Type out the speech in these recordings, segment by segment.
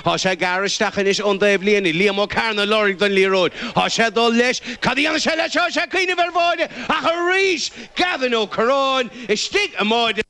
Tá sé gearrtha isteach anois ón dtaobhlíne. Liam Ó Cearna ag lorg don liathróid. Tá sé ag dul leis. Cad a dhéanfaidh sé leis? Tá sé ag cuimhneamh ar bháide ach arís Gavin Ó Curráin istigh i mbáide.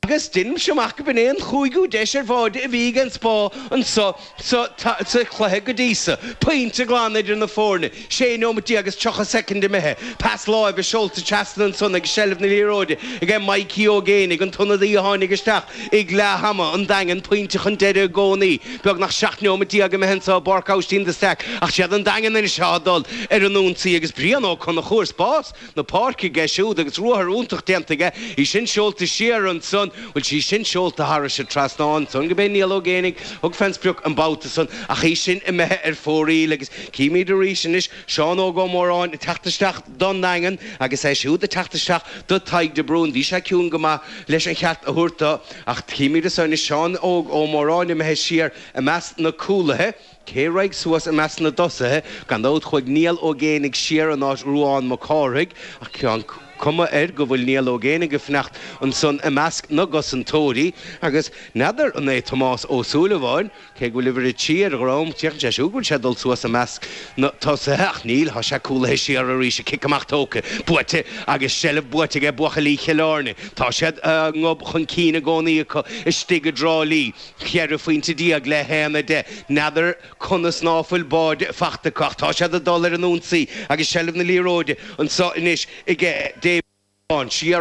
Agus deinimse amach go b'in é an chúigiú deis ar bháide a bhí ag an Spá anso sa chluiche go dtí so. Pointe glan idir na foirne. 16 nóimeat agus 30 soicind imithe. Pas láimhe seolta trasna ansan agus seilbh na liathróide aige Mikey Ó Géibheannaigh, an t-ionadaí a tháinig isteach ag leath ama. An Daingean pointe chun deiridh i gcónaí. Beagnach 17 nóimeat imithe anso i bPáirc Aibhistín de Staic ach siad an Daingean anois atá ag dul ar an ionsaí agus Brian Ó Conchúir spás na páirce aige siúd agus ruathar iontach déanta aige, í sin seolta siar ansan, bhfuil sí sin seolta thairis an trasnán ansan go b'é Niall Ó Géibheannaigh thug fén sprioc an babhta san ach í sin imithe ar fóraoil agus címid arís anois Seán Óg Ó Móráin ag teacht isteach don nDaingean agus é siúd ag teacht isteach do Tadhg de Brún. Bhí sé ciúin go maith leis an cheart a thabhairt dó ach címid anso anois Seán Óg Ó Móráin imithe siar i measc na cúlaithe. Cé raghaidh suas i measc na dtosaithe? Gan dabht chuaigh Niall Ó Géibheannaigh siar in áit Ruán Mac Cárthaigh, ach tá an cuma air go bhfuil Niall Ó Géibheannaigh ag fanacht ansan i measc na gcosantóirí agus n'fheadar an é Tomás Ó Súilleabháin, cé go bhfuil uimhir 3 ar a dhrom, féachann sé siúd go bhfuil sé ag dul suas i measc na tosaithe ach níl, tá sé cúlaithe siar arís, an cic amach tógtha, buaite agus seilbh buaite aige buachaillí Chill Airne. Tá siad a ngob chun cinn i gcónaí acu istigh i dTrá Lí. 14 phointe le 1-10. N'fheadar conas ná fuil báide fachta acu ach tá siad ag dul ar an ionsaí agus seilbh na liathróide anso anois aige David Bán. Siar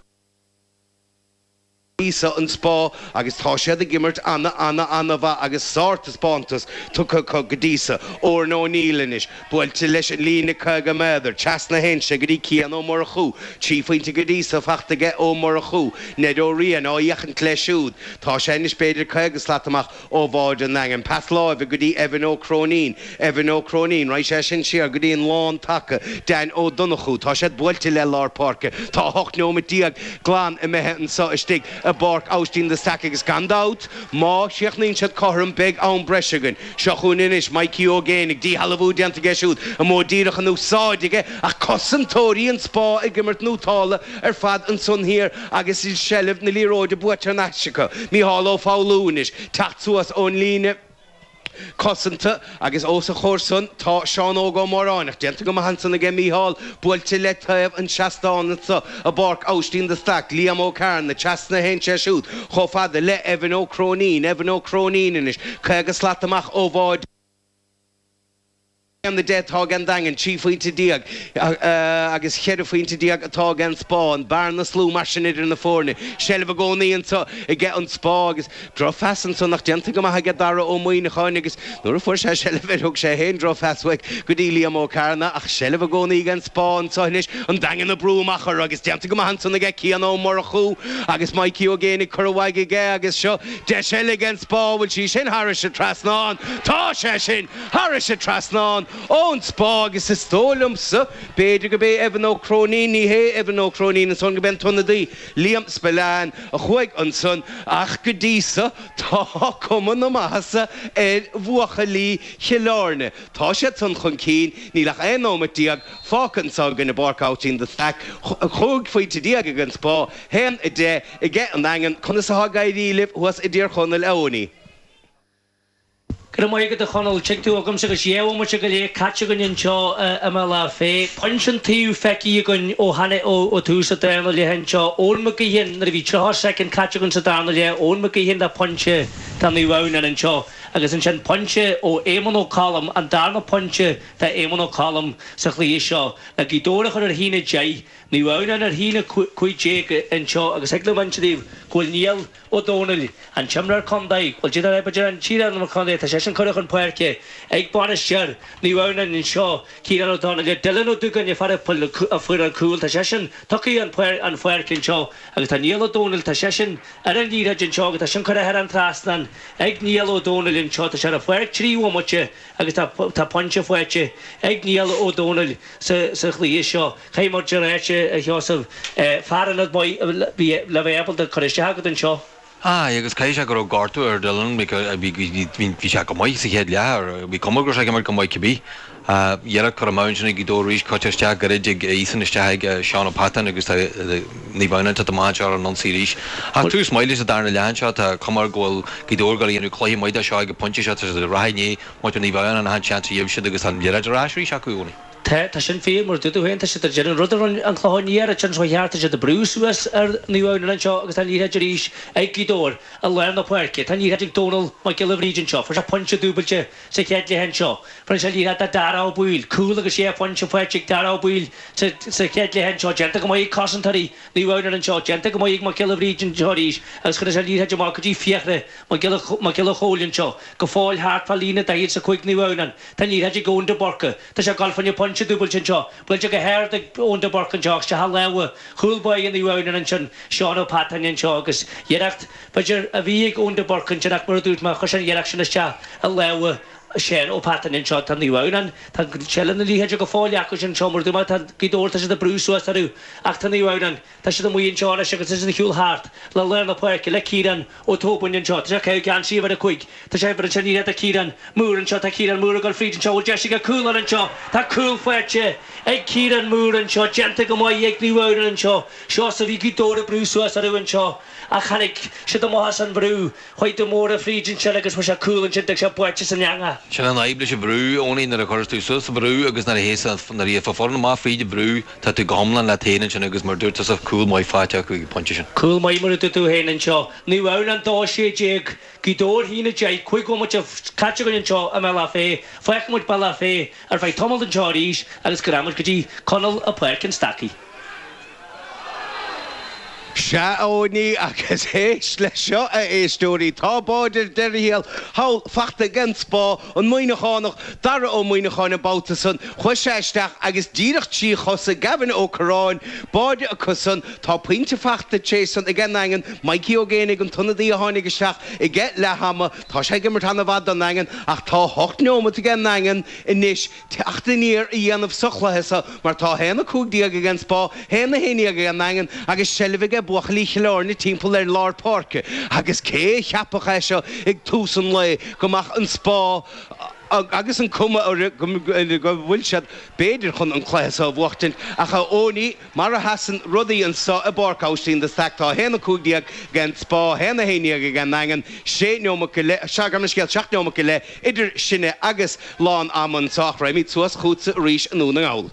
píosa an Spá agus tá siad ag imirt ana ana ana mhaith agus sár-taispeántas tugtha acu go dtí so. Odhrán O'Neill anois. Buailte leis an líne 50 méadar, trasna a théann sé go dtí Cian Ó Murchú. 3 phointe go dtí so fachta aige Ó Murchú. Ned Ó Riain á fhéachaint leis siúd. Tá sé anois b'fhéidir 50 slat amach ó bháide an Daingin. Pas láimhe go dtí Evan Ó Cróinín. Evan Ó Cróinín, raghaidh sé sin siar go dtí an lán taca, Dan Ó Donnchú. Tá siad buailte le lár páirce. Tá 18 nóimeat glan imithe anso istigh i bPáirc Aibhistín de Staic agus gan dabht, má chríochnaíonn siad cothrom beidh am breise againn. Seo chugainn anois Mikey Ó Géibheannaigh, díshealbhú déanta aige siúd, an modh díreach in úsáid aige ach cosantóirí an Spá ag imirt nótála ar fad ansan thiar agus seilbh na liathróide buaite thar n-ais acu. Mícheál Ó Foghlú anois, teacht suas ón líne cosanta agus os a chomhair san tá Seán Óg Ó Móráin ach déanta go maith ansan aige Mícheál, buailte le taobh an tseastáin anso i bPáirc Aibhistín de Staic, Liam Ó Cearna, trasna a théann sé siúd chomh fada le Evan Ó Cróinín, Evan Ó Cróinín anois, 50 slat amach ó bháide. 1-10 atá ag an Daingean, 13 phointe agus 14 phointe atá ag an Spá. An bearna is lú mar sin idir na foirne. Seilbh i gcónaí anso aige an Spá agus drochphas ansan ach déanta go maith aige Dara Ó Muíneacháin agus nuair a fuair sé seilbh air thug sé féin drochphas uaidh go dtí Liam Ó Cearna ach seilbh i gcónaí ag an Spá anso anois. An Daingean ag brú amach orthu agus déanta go maith ansan aige Cian Ó Murchú agus Mikey Ó Géibheannaigh curtha uaidh aige agus seo deis eile ag an Spá. Bhfuil sí sin thairis an trasnán? Tá sé sin! Thairis an trasnán ón Spá agus is dóigh liomsa, b'fhéidir go b'é Evan Ó Cróinín, ní hé Evan Ó Cróinín ansan, go b'é an t-ionadaí Liam Spillane a chuaigh ansan ach go dtí so tá cuma na maitheasa ar bhuachaillí Chill Airne. Tá siad san chun cinn, níl ach 11 nóimeat fágtha anso againn i bPáirc Aibhistín de Staic, 15 phointe ag an Spá, 1-10 aige an Daingean. Conas atá ag éirí libh thuas i dTír Chonaill, a Eoiní? Go raibh maith agat a Chonaill. Tig tú agamsa agus dhá bhomaite go leith caite againn anseo i mBealach Féich. Pointe an taobh feicthe againn ó tháinig ó tús an darna leath anseo. Eoin McGeehin, nuair a bhí 30 soicind caite againn sa darna leath, Eoin McGeehin le pointe do Naomh Adhamhnáin anseo agus ansin pointe ó Éamonn Ó Colm, an darna pointe do Éamonn Ó Colm sa chluiche seo le Gaoth Dobhair a chur ar 1-10. Naomh Adhamhnáin ar 1-15 anseo agus thig liom inse daoibh go bhfuil Niall Ó Dónaill, an t-imreoir contae, bhuel d'fhéadfá b'fhéidir an t-iar-imreoir contae, tá seisean curtha chun páirce ag bainisteoir Naomh Adhamhnáin anseo, Ciarán Ó Dónaill, Dylan Ó Dúgáin, an fear a fuair an cúl, tá seisean tugtha chun páirce anseo agus tá Niall Ó Dónaill, tá seisean ar an liathróid anseo agus tá sin curtha thar an trasnán ag Niall Ó Dónaill anseo, tá sé ar an pháirc 3 bhomaite agus tá pointe faighte ag Niall Ó Dónaill sa chluiche seo. Caithfidh muid a ráit, a Sheosaimh, fear ionad maith le bheith ábalta cur isteach agat anseo. Aye, agus caithfidh sé go raibh gortú ar Dylan because bhí, bhí, bhí sé go maith sa chéad leath, bhí cuma go raibh sé ag imirt go maith cibé. Iarracht curtha amach ansin ag Gaoth Dobhair arís, caite isteach gairid ag Ethan isteach ag Seán Ó Peatáin agus tá Naomh Adhamhnáin ag teacht amach anseo ar an ionsaí arís. Ach tús maith leis an darna leath anseo, tá cuma air go bhfuil Gaoth Dobhair ag dul a dhéanamh cluiche maith de seo ag an bpointe seo, tá siad ag rath i ndiaidh muintir Naomh Adhamhnáin achan seans a gheibh siad agus tá an liathróid ar ais arís acu, Eoiní. Tá, tá sin fíor, mar a dúirt tú féin, tá siad ag déanamh an rud a rinne an Clochán Liath an seo cheart, tá siad ag brú suas ar Naomh Adhamhnáin anseo agus tá an liathróid arís ag Gaoth Dobhair i lár na páirce. Tá an liathróid ag Dónal Mac Giolla Bhríde anseo, fuair sé pointe dúbailte sa chéad leath anseo. Fuair sé an liathróid do Dara Ó Baoill, cúl agus sé phointe faighte ag Dara Ó Baoill sa chéad leath anseo. Déanta go maith ag cosantóirí Naomh Adhamhnáin anseo. Déanta go maith ag Mac Giolla Bhríde anseo arís agus chuir sé an liathróid amach go dtí Fiachra Mac Giolla Chóill anseo. Go fóill thart fá líne 45 Naomh Adhamhnáin. Tá an liathróid ag Eoin de Búrca. Tá sé ag dul fá choinne pointe dúbailte anseo. Buailte go hard ag Eoin de Búrca anseo ach isteach i lámha chúl báire Naomh Adhamhnáin ansin, Seán Ó Peatáin anseo agus iarracht, b'fhéidir, a bhí ag Eoin de Búrca ansin ach mar a dúirt mé, chuir sé an iarracht sin isteach i lámha Seán Ó Peatáin anseo. Tá Naomh Adhamhnáin, tá seilbh na liathróide go fóill acu sin anseo mar a dúirt mé, tá Gaoth Dobhair, tá siad ag brú suas orthu ach tá Naomh Adhamhnáin, tá siad amuigh anseo anois agus tá siad ag siúl thart le lár na páirce le Ciarán Ó Tóibín anseo. Tá sé ag caitheamh geansaí uimhir 5. Tá sé ag an liathróid do Ciarán Moore anseo. Tá Ciarán Moore ag dul fríd anseo. Bhfuil deis aige cúl a fháil anseo? Tá cúl faighte ag Ciarán Moore anseo. Déanta go maith ag Naomh Adhamhnáin anseo. Seosamh, bhí Gaoth Dobhair ag brú suas orthu anseo ach tháinig siad amach as an bhrú. Chuaigh de Mórdha fríd ansin agus fuair sé cúl ansin. D'fhág sé buailte san eangach. Sin an fhadhb leis an bhrú, Eoiní, nuair a chuireas tú suas sa bhrú agus nuair a théas nuair a théas foireann amach fríd an bhrú, Tá tú go hiomlán leat féin ansin agus mar a dúirt tusa, cúl maith faighte acu ag an bpointe sin. Cúl maith mar a dúirt tú féin anseo. Naomh Adhamhnáin 2, 16, Gaoth Dobhair 1, 10, 5 bhomaite caite againn anseo i mBealach Féich. Fágfaidh muid Bealach Féich ar feadh tamaill anseo arís agus go rachaidh muid go dtí Conall i Páirc an Stacaigh. Sea, a Eoiní, agus éist leis seo, a éisteoirí, tá báide ar deireadh thiar thall fachta ag an Spá, an Muimhneachánach, Dara Ó Muimhneacháin an babhta san, chuaigh sé isteach agus díreach trí chosa Gavin Ó Curráin, báide acu san, tá pointe fachta tar éis san ag an nDaingean, Mikey Ó Géibheannaigh an t-ionadaí a tháinig isteach ag leath ama, tá sé ag imirt ana-mhaith don nDaingean ach tá hocht neomat ag an nDaingean anois teacht aniar a dhéanamh sa chluiche seo mar tá 1-15 ag an Spá, 1-11 ag an nDaingean agus seilbh aige buachaillí Chill Airne timpeall ar lár páirce agus cé a cheapfadh é seo ag tús an lae go mbeadh an Spá agus an cuma orthu go bhfuil siad b'fhéidir chun an cluiche seo a bhuachtaint ach a Eoiní Mar a sheasann rudaí anso i bPáirc Aibhistín de Staic tá 1-15 ag an Spá, 1-11 ag an nDaingean, sé neomat go leith, gabh mo leithscéal, seacht neomat go leith idir sinne agus lán ama anso ach raghaimid suas chugatsa arís i nDún na nGall.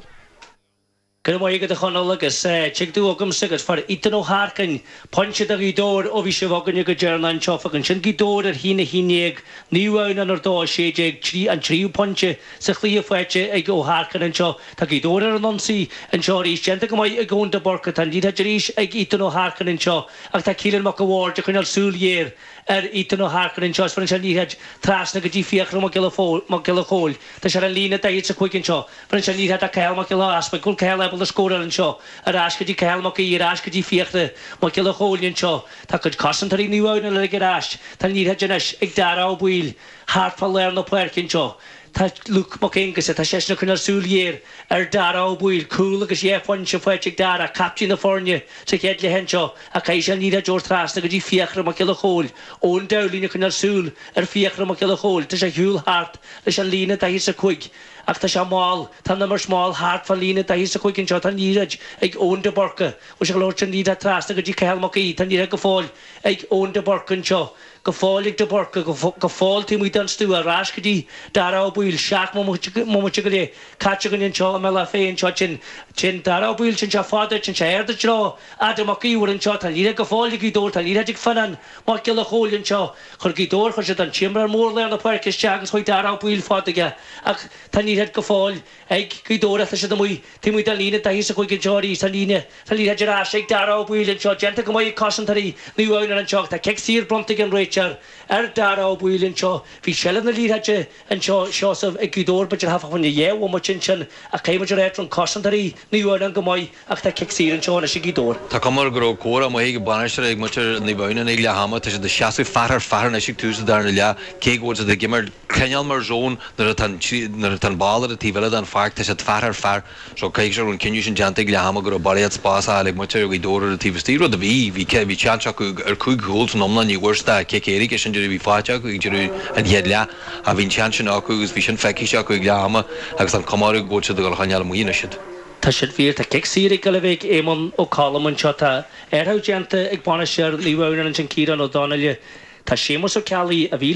Go raibh maith agat a Chonaill agus tig tú agamsa agus fuair Ethan Ó hEarcáin pointe do Ghaoth Dobhair ó bhí sibh againne go deireanach anseo. Fágann sin Gaoth Dobhair ar 1-11, Naomh Adhamhnáin ar 2 16, trí an tríú pointe sa chluiche faighte ag Ó hEarcáin anseo. Tá Gaoth Dobhair ar an ionsaí anseo arís. Déanta go maith ag Eoin de Búrca. Tá an liathróid arís ag Ethan Ó hEarcáin anseo ach tá Keelan Mac a' Bhaird ag coinneáil súil ghéar ar Ethan Ó hEarcáin anseo is bheireann sé an liathróid trasna go dtí Fiachra Mac Giolla Mac Giolla Chóill. Tá sé ar an líne 45 anseo. Bheireann sé an liathróid do Cathal Mac Giolla Easpaig. Bhfuil Cathal ábalta scóráil anseo? Ar ais go dtí Cathal Mac Aoidh. Ar ais go dtí Fiachra Mac Giolla Chóill anseo. Tá cuid cosantóirí Naomh Adhamhnáin uilig ar ais. Tá an liathróid anois ag Dara Ó Baoill thart fá lár na páirce anseo. Tá Luke Mac Aonghusa, tá seisean ag coinneáil súil ghéar ar Dara Ó Baoill, cúl agus dhá phointe faighte ag Dara, captaen na foirne sa chéad leath anseo, ach caithfidh sé an liathróid a thabhairt trasna go dtí Fiachra Mac Giolla Chóill. Eoin Dowling ag coinneáil súil ar Fiachra Mac Giolla Chóill. Tá sé ar shiúl thart leis an líne 45 ach tá sé mall, tá an imirt mall thart fán líne 45 anseo. Tá an liathróid ag Eoin de Búrca. Bhfuil sé ag dul a thabhairt an liathróid trasna go dtí Cathal Mac Aoidh. Tá an liathróid go fóill ag Eoin de Búrca anseo. Go fóill ag de Búrca, go fóill taobh amuigh den stua, ar ais go dtí Dara Ó Baoill, 7 mbomaite go leith caite againn anseo i mBealach Féich anseo, téann, téann Dara Ó Baoill, téann sé fada, téann sé ard i dtreo Adam Mac Íomhair anseo, tá an liathróid go fóill ag Gaoth Dobhair, tá an liathróid ag Fionnán Mac Giolla Chóill anseo, chuir Gaoth Dobhair, chuir siad an t-imreoir mór lár na páirce isteach agus chuaigh Dara Ó Baoill fada aige ach tá an liathróid go fóill ag Gaoth Dobhair ach tá siad amuigh taobh amuigh den líne 45 anseo arís, tá an líne, tá an liathróid ar ais ag Dara Ó Baoill anseo, déanta go maith ag cosantóirí Naomh Adhamhnáin anseo ach tá cic saor bronnta ag an réiteoir ar Dara Ó Baoill anseo. Bhí seilbh na liathróide anseo, Seosamh, ag Gaoth Dobhair, b'fhéidir thart fá choinne dhá bhomaite ansin ach caithfidh muid a rá rinne cosantóirí Naomh Adhamhnáin go maith ach tá cic saor anseo anois ag Gaoth Dobhair. Tá cuma air go raibh comhrá maith ag an bainisteoir ag muintir Naomh Adhamhnáin ag leath ama. Tá siad ag seasamh fear ar fear anois ag tús an darna leath, cé go bhfuil siad ag imirt cineál mar zón nuair atá an nuair atá an ball ar an taobh eile den pháirc, tá siad fear ar fear. So caithfidh sé go raibh an cinneadh sin déanta ag leath ama go raibh barraíocht spás á fháil ag muintir Ghaoth Dobhair ar an taobh istigh, rud a bhí. Bhí bhí seans acu ar chúig chúl san iomlán, ní bhfuair siad ach cic. cic éirice, sin deireadh a bhí faighte acu ag deireadh an chéad leath. Ach bhí an seans sin acu agus bhí sin feicthe acu ag leath ama agus an cuma orthu go bhfuil siad ag dul a choinneáil amuigh anois iad. Tá siad fíor. Tá cic saor ag dul a bheith ag Éamonn Ó Colm anseo. Tá athrú déanta ag bainisteoir Naomh Adhamhnáin ansin Ciarán Ó Donnaile. Tá Séamus Ó Ceallaigh, a bhí le.